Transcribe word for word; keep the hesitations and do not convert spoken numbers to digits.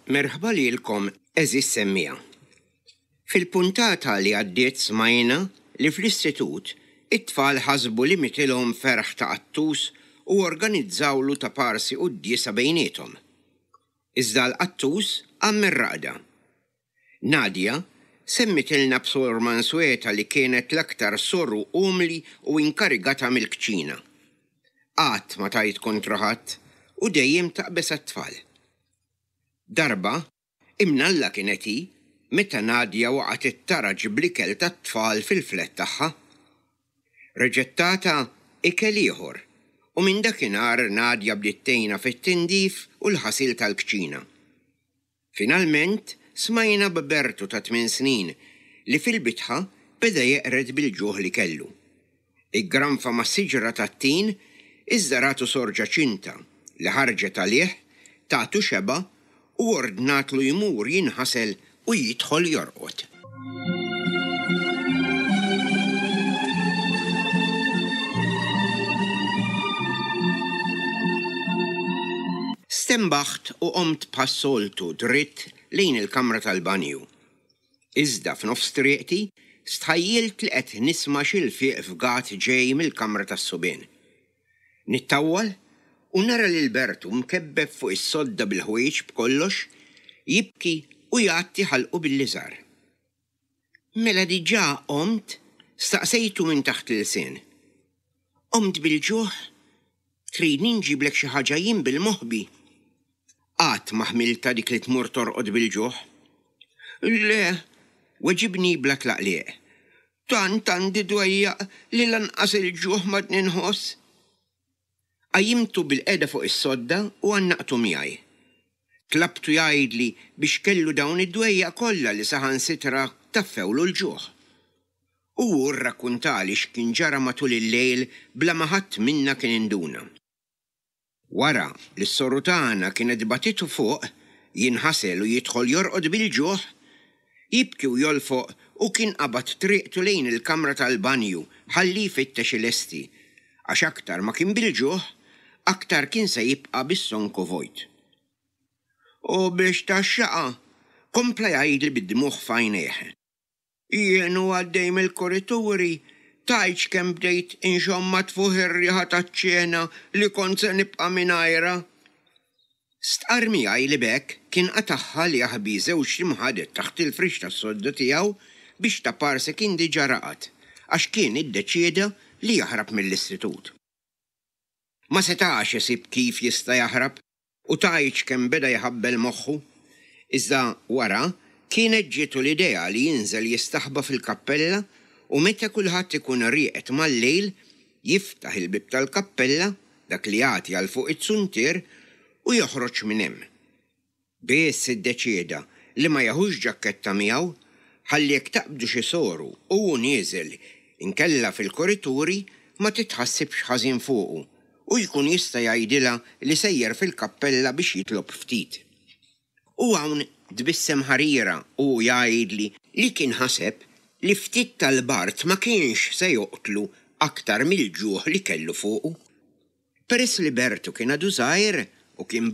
Merħba lilkom għeżież semmiegħa. Fil-puntata li għaddiet smajna li fl-istitut it-tfal ħasbu li mitilhom ferħ ta' qattus u organizzawlu ta' parsi quddiesa bejniethom. Iżda l-qattus qam mir-raqda. Nadia semmitilna b'Sor Mansueta li kienet l-aktar soru umli u inkarigata mill-kċina. Qatt ma tgħid kontra ħadd u dejjem taqbeż għat-tfal. Darba, imnalla kienet hi, meta Nadia waqgħet it-taraġ bl-ikel tat-tfal fil-flet tagħha. Reġgħet tatha ikel ieħor u minn dakinhar Nadia bdiet tgħinha fit-tindif u l-ħasil tal-kċina. Finalment smajna b'Bertu ta' tmien snin li fil-bitħa beda jeqred bil-ġuħ li kellu. Iggranfa ma' siġra tat-tin iżda ratu Sor Ġaċinta li ħarġet għalih, tatu xebgħa u ordnatlu jmur jinħasel u jidħol jorqod. Stenbaħt u qomt bħas-soltu dritt lejn il-kamra tal-banju. Iżda f'nofs triqti stħajjilt li qed nisma' xi lfiq fgat ġej mill-kamra tas-subien. Nittawwal u nara lil Bertu mkebbeb fuq is-sodda bil-ħwejjeġ b'kollox, jibki u jgħatti ħalqu bil-liżar. Mela diġà qomt? Staqsejtu minn taħt l-ilsien. Qomt bil-ġuħ? Tridni nġiblek xi ħaġa jien bil-moħbi? Qatt ma ħmiltha dik li tmur torqod bil-ġuħ. Le, weġibni bla tlaqliq. Tant għandi dwejjaq li lanqas il-ġuħ m'għadni nħoss. Qajjimtu bilqiegħda fuq is-sodda u għannaqtu miegħi. Tlabtu jgħidli biex kellu dawn id-dwejjaq kollha li saħansitra taffewlu l-ġuħ. U hu rrakkuntali x'kien ġara matul il-lejl bla ma ħadd minna kien induna. Wara li s-soru tagħna kienet bagħtitu fuq jinħasel u jidħol jorqod bil-ġuħ, jibki u jolfoq u kien qabad triqtu lejn il-kamra tal-banju ħalli jfittex ilesti, għax aktar ma kien bil-ġuħ, aktar kien se jibqa' bis-sonku vojt. U biex tgħaxxaqha, kompla jgħidli bid-dmugħ f'għajnejh. Jien u għaddej mill-kurituri, tgħidx kemm bdejt inxomm ma tfuħ ir-riħa taċ-ċena li kont se nibqa' mingħajrha. Stqarr miegħi li b'hekk kien qatagħha li jaħbi żewġt imħaded taħt il-frix tas-sodda tiegħu biex ta' parsi kien diġà raqad għax kien iddeċieda li jaħrab mill-istitut. Ma setax isib kif jista' jaħrab u tgħidx kemm beda jħabbel moħħu. Iżda wara kienet ġietu l-idea li jinżel jistaħba fil-kappella u meta kulħadd ikun rieqed mal-lejl jiftaħ il-bieb tal-kappella, dak li jagħti għal fuq iz-zuntier, u joħroġ minn hemm. Biss iddeċieda li ma jeħux ġakketta miegħu ħalli jekk taqbdu xi soru u hu nieżel inkella fil-kurituri ma titħassibx ħażin fuqu u jkun jista' jgħidilha li sejjer fil-kappella biex jitlob ftit. U hawn tbissem ħarira u hu jgħidli li kien ħaseb li ftit tal-bard ma kienx se joqtlu aktar mill-ġuħ li kellu fuqu. Peress li Bertu kien għadu żgħir u kien